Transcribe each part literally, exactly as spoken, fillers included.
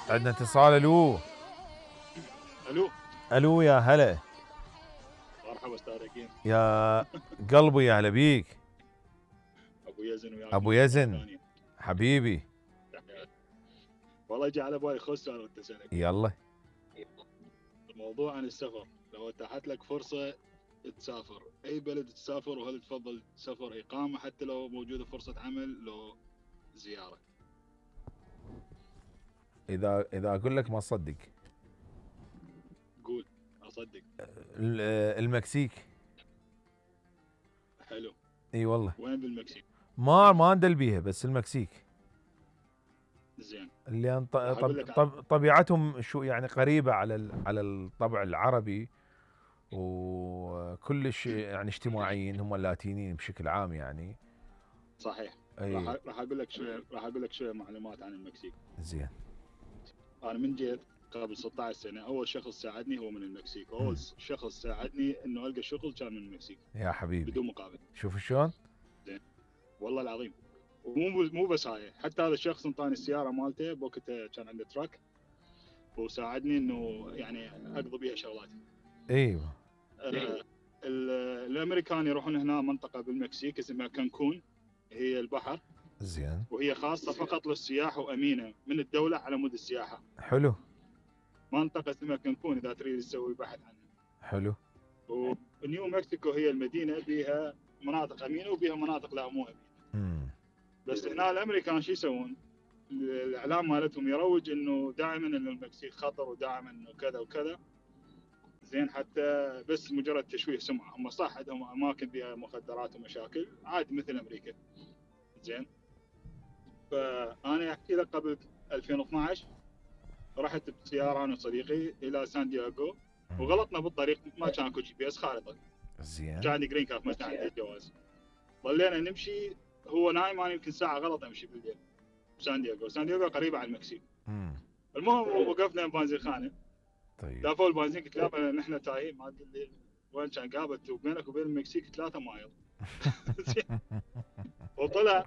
عندنا اتصال. الو الو الو يا هلا. مرحبا استاذ ركين. يا قلبي يا هلا بيك. ابو يزن وياك ابو مرة يزن ثانية. حبيبي. تحياتي. والله جاء على بالي خوش سؤال وانت سألك. يلا. الموضوع عن السفر، لو اتاحت لك فرصة تسافر اي بلد تسافر، وهل تفضل سفر اقامة حتى لو موجودة فرصة عمل لو زيارة؟ اذا اذا اقول لك ما تصدق. قول اصدق. ال- المكسيك. حلو. اي والله. وين بالمكسيك؟ ما ما ندل بيها بس المكسيك. زين. اللي ط- راح اقول طب لك ع- طب طبيعتهم شو يعني قريبة على ال- على الطبع العربي، وكلش يعني اجتماعيين هم اللاتينيين بشكل عام يعني. صحيح. راح اي راح اقول لك شوية راح اقول لك شوية معلومات عن المكسيك. زين. انا من جيت قبل ستة عشر سنة، اول شخص ساعدني هو من المكسيك، مم. اول شخص ساعدني انه القى شغل كان من المكسيك يا حبيبي بدون مقابل. شوف شلون. والله العظيم. ومو مو بس هاي، حتى هذا الشخص انطاني السياره مالته بوقتها كان عنده تراك، وساعدني انه يعني اقضي بيها شغلاتي. ايوه. آه الامريكان يروحون هنا منطقه بالمكسيك اسمها كانكون، هي البحر، زين. وهي خاصه فقط للسياح وامينه من الدوله على مود السياحه. حلو. منطقه اسمها كانكون اذا تريد تسوي بحث عنها. حلو. ونيو مكسيكو هي المدينه بيها مناطق امينه وبيها مناطق لا مو امينه. امم بس هنا الامريكان شو يسوون؟ الاعلام مالتهم يروج انه دائما انه المكسيك خطر، ودائما انه كذا وكذا. زين، حتى بس مجرد تشويه سمعه. هم صح عندهم اماكن فيها مخدرات ومشاكل عادي مثل امريكا. زين. فانا احكي لك قبل ألفين واثناشر رحت بسياره انا وصديقي الى سان دييغو، وغلطنا بالطريق، ما كان اكو جي بي اس خارطه. زين. كان عندي جرين كارد ما كان عندي جواز. ظلينا نمشي، هو نايم انا يمكن ساعه غلط امشي بالليل بسان دييغو. سان دييغو قريبه على المكسيك. امم المهم وقفنا بنزين خانه، طيب. دافوا البنزين، قلت له نحن تايهين ما ادري وين كان قابت، وبينك وبين المكسيك ثلاثة مايل. وطلع،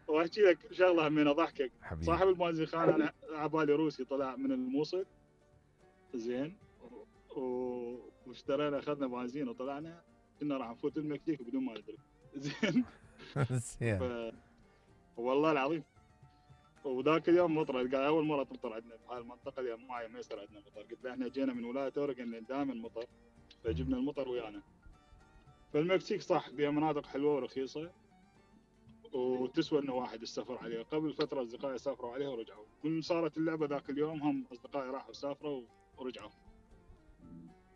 واحكي لك شغله من اضحكك، حبيبي. صاحب البنزين خانه انا على بالي روسي، طلع من الموصل. زين. و... واشترينا اخذنا بنزين وطلعنا، كنا راح نفوت المكسيك بدون ما ندري. زين. زين. ف... والله العظيم. وذاك اليوم مطر، قال اول مره تمطر عندنا بهاي المنطقه، اليوم معي ما يصير عندنا مطر. قلت له احنا جينا من ولايه اوريجن دائما مطر، فجبنا المطر ويانا. فالمكسيك صح بها مناطق حلوه ورخيصه، وتسوى انه واحد السفر عليها. قبل فتره اصدقائي سافروا عليها ورجعوا، من صارت اللعبه ذاك اليوم هم اصدقائي راحوا سافروا ورجعوا.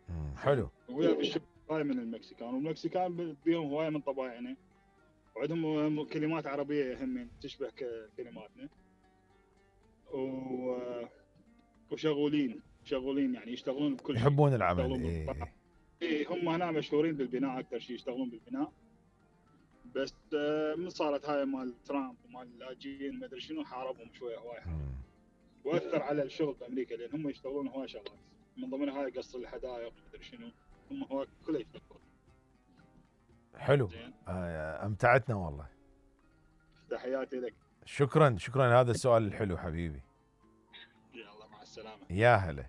مم. حلو. ويا بالشغل هواي من المكسيكان، والمكسيكان بيهم هواي من طبايعنا، وعندهم كلمات عربيه همين تشبه كلماتنا، و... وشغولين شغولين يعني يشتغلون بكل شيء. يحبون العمل. يشتغلون ايه بالقطع. إيه، هم هنا مشهورين بالبناء اكثر شيء، يشتغلون بالبناء. بس آه، من صارت هاي مال ترامب ومال اللاجئين ما ادري شنو، حاربهم شويه هواي حارب. مم. واثر على الشغل بامريكا، لان هم يشتغلون هواي شغلات، من ضمنها هاي قص الحدائق ما ادري شنو، هم هواي كله يشتغلون. حلو. زين. آه امتعتنا والله. تحياتي لك. شكرا شكرا لهذا السؤال الحلو حبيبي. يلا مع السلامه. يا هلا.